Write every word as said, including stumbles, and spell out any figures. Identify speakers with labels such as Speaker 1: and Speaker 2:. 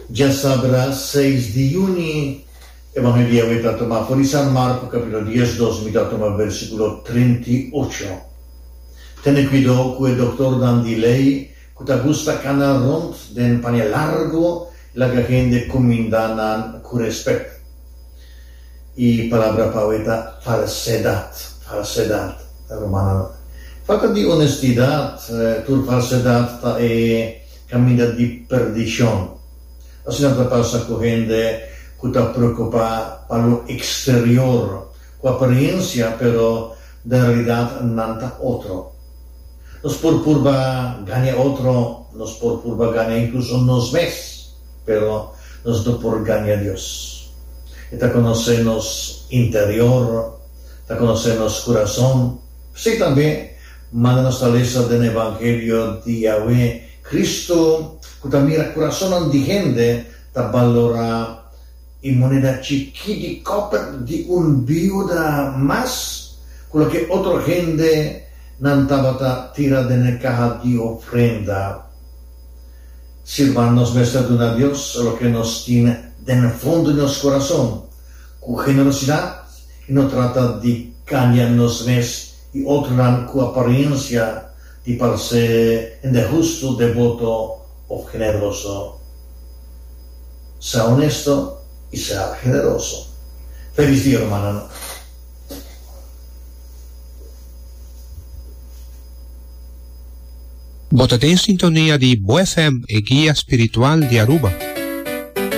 Speaker 1: Djasabra seis di yüni, Evangelio awe ta tuma for di San Marko kapítulo diesdos, mi ta tuma versíkulo trinta i ocho. Tene kuidou ku e dòktornan di lei ku ta gusta kana rònt den paña largu i laga hende kumindá nan ku rèspèt. E palabra pa awe ta falsedat, falsedat, rumannan. Falta di onestidat, tur falsedat ta e kaminda di perdishon. Asina ta pasa ku hende ku ta preokupá pa lo eksterior, ku apariensia, pero den realidat nan ta otro. Nos por purba gaña otro, nos por purba gaña inkluso nos mes, pero nos no por gaña Dios. E ta konosé nos interior, ta konosé nos kurason. P'esei tambe, manda nos ta lesa den Evangelio di awe, Cristo, ku ta mira kurasonnan di hende, ta balorá e moneda chikí di kòper di un biuda mas ku loke otro hende nan tabata tira den e kaha di ofrenda. Sirban nos mester duna Dios loke nos tin den fondo di nos kurason, ku generosidat i no trata di gaña nos mes i otronan ku aparensia di parse hende hustu, deboto òf generoso. Sea honesto i sea generoso. Felis dia, rumannan.
Speaker 2: Bo ta den sintonia di Bo F M, e guia spiritual di Aruba.